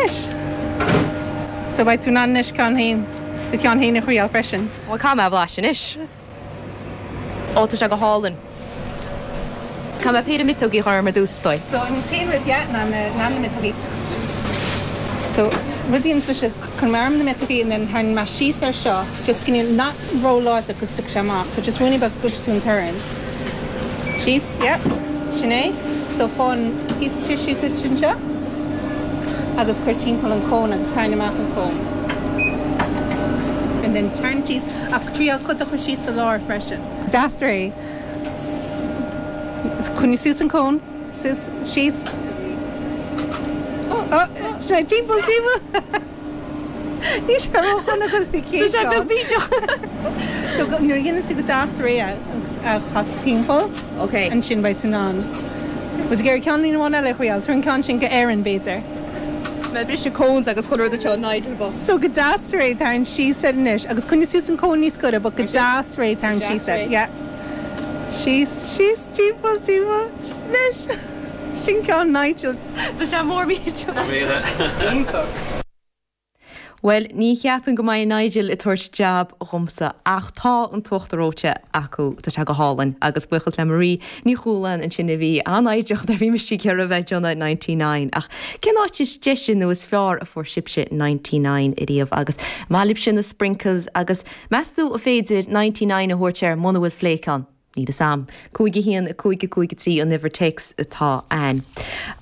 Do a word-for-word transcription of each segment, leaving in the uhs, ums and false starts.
Anois. So beidh tú in ann anois ceann féin do cheann féin a thriail freisin. Bhuel caithfidh mé a bhlaiseadh anois. Ó tá sé go hálainn. Caithfidh mé péire miotógaí a chur orm ar dtús is dóigh. So an t-aon rud yeah ná na ná na miotógaí. So rud a dhéanfas mise cuirfidh mé orm na miotógaí and then tharraing mé síos ar seo just go not ró-láidir cos tiocfaidh sé amach. So just ruainnín beag go gcloisfidh tú an torann. Síos, yeah, sin é. So faigh an píosa tissue sin seo agus cuir timpeall an cón agus tarraing amach an cón. And then tarraing síos ach triail cuid a chur síos sa lár freisin. Deas réidh. Coinnigh suas an cón, suas, síos. Oh, sin é timpeall timpeall. Ní sé ródhona agus bhí Tá sé beag bídeach. So nuair a dhéanann tú go deas réidh agus a chas timpeall Ok. ansin beidh tú in ann. Bhuel ag iarraidh ceann amháin eile a thriail, tabhair an ceann sin go Éirinn b'fhéidir. Mé briseadh cones agus chuile rud anseo Nigel bocht. So go deas réidh tarraing síos air anois agus coinnigh suas an cón níos gaire, but go deas réidh tarraing síos air. Yeah. Síos, síos, timpeall, timpeall. Anois. Sin ceann Nigel. Tá sé mór millteach. Well, ní cheapaim go mbeidh Nigel ag tabhairt jab dhomsa ach tá an t-uachtar reoite acu tá sé go hálainn agus buíochas le Marie Ní Chualáin ansin a bhí an-fhoighdeach nuair a bhí mise ag iarraidh bheith ag déanamh ninety nine ach cén áit is deise nó is fearr a fuair sibhse ninety nine ariamh agus maith libhse na sprinkles agus meas tú an féidir ninety nine a thabhairt air muna bhfuil flake ann. Níl a fhios agam. Cúig a haon cúig a cúig a trí an uimhir téacs atá ann.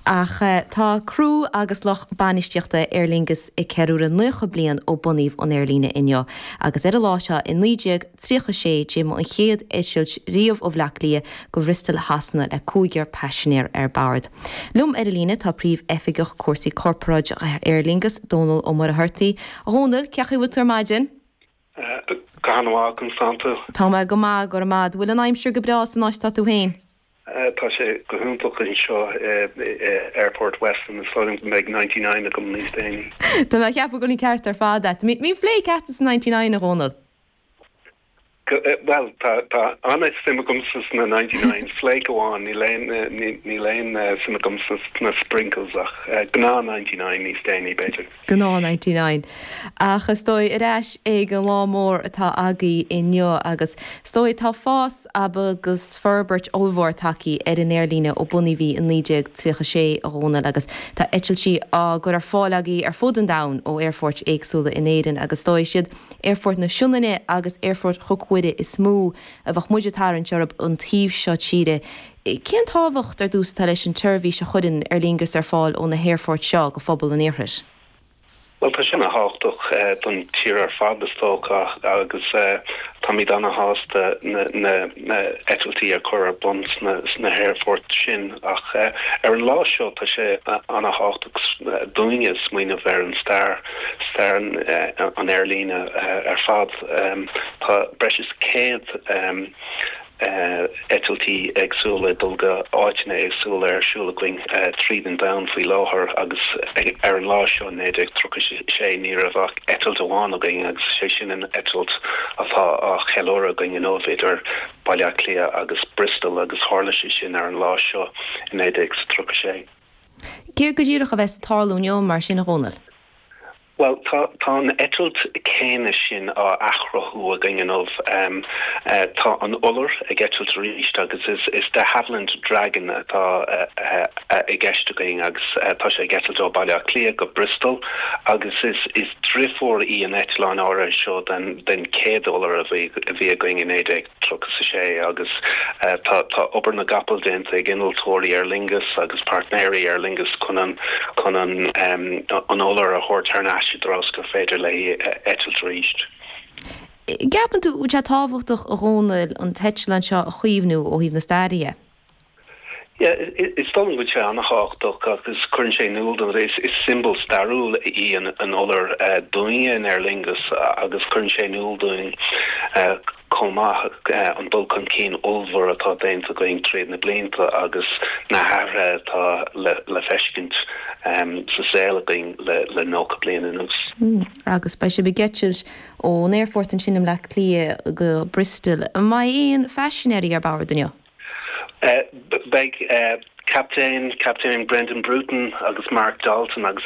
Ach tá criú agus lucht bainistíochta Aer Lingus ag ceiliúradh naocha bliain ó bunaíodh an aerlíne inniu, agus ar an lá seo i naoi déag tríocha sé d'imigh an chéad eitilt riamh ó Bhaile Átha Cliath go Bristol Shasana le cúigear paisinéir ar bord. Liom ar an líne tá Príomh-Oifigeach Cúrsaí Corparáide Aer Lingus, Dónal Ó Muircheartaigh. A Dhónaill, cén chaoi a bhfuil tú ar maidin? Go han-mhaith Constanza. Tá mé go maith go raibh maith. Bhfuil an aimsir go breá san áit atá tú féin? Tá sé go hiontach anseo Airport Weston is dóigh liom go mbeidh ninety nine agam níos déanaí. Tá mé ag ceapadh go bhfuil an ceart ar fad agat. Mbíonn flake agat sa ninety nine a Dhónaill? Bhuel tá tá an-suim agamsa sna ninety nine flake amháin níl aon níl aon suim agamsa sna sprinkles ach gnáth ninety nine níos déanaí b'fhéidir. Gnáth ninety nine. Ach is dóigh ar ais ag an lá mór atá agaibh inniu agus is dóigh tá fás agus forbairt ollmhór tagtha ar an aerlíne ó bunaíodh í i naoi déag tríocha sé a Dhónaill agus tá eitiltí á gcur ar fáil agaibh ar fud an domhain ó aerfoirt éagsúla in Éirinn agus is dóigh is iad Aerfort na Sionainne agus Aerfort Chnoc Mhuire is mó a bheadh muid ag tarraingt orthu an taobh seo tíre. Cén tábhacht ar dtús atá leis an tseirbhís a chuireann Aer Lingus ar fáil ó na haerfoirt seo go phobal an iarthair? Well tá sin an-tábhachtach don tír ar fad is dócha agus táimid an-sásta na na na eitiltí a chur ar bun sna sna haerfoirt sin ach ar an lá seo tá sé an-tábhachtach dúinne smaoineamh ar an stair stair an aerlíne ar fad. Tá breis is céad eitiltí éagsúla dul go áiteanna éagsúla ar siúl againn tríd an domhan faoi láthair agus ar an lá seo naoi déag tríocha sé ní raibh ach eitilt amháin againn agus sé sin an eitilt atá á cheiliúradh againn inniu idir Baile Átha Cliath agus Bristol agus tharla sé sin ar an lá seo i naoi déag tríocha sé. Céard go díreach a bheas ag tarlú inniu mar sin a Dhónaill? Well tá tá an eitilt céanna sin á athchruthú againn inniu. Tá an Iolar ag eitilt arís agus is is de Havilland Dragon atá i gceist againn agus tá sé ag eitilt ó Baile Átha Cliath go Bristol agus is is deirfiúr í an eitleán áirithe seo den den chéad Iolar a bhí a bhí againn i naoi déag tríocha sé agus tá tá obair na gcapall déanta ag innealtóirí Aer Lingus agus páirtnéirí Aer Lingus chun an chun an an Iolar a thabhairt thar n-ais i dtreo gur féidir léi eitilt arís. Ceapann tú sé tábhachtach a Dhónaill an t-eitleán seo a chaomhnú ó thaobh na staire dhe? Yeah, is dóigh liom go bhfuil sé an-tábhachtach agus cuireann sé in iúl dom is is siombail stairiúil í an an Iolar dúinne in Aer Lingus agus cuireann sé in iúl dúinn chomh maith an dul chun cinn ollmhór atá déanta againn tríd na blianta agus na hathruithe atá le le feiscint sa saol againn le le nócha bliain anuas. Agus beidh sibh ag eitilt ón aerfort ansin i mBleá Cliath go Bristol. An mbeidh aon phaisinéirí ar bord inniu? Beidh captaen, Captain Brendan Bruton agus Mark Dalton agus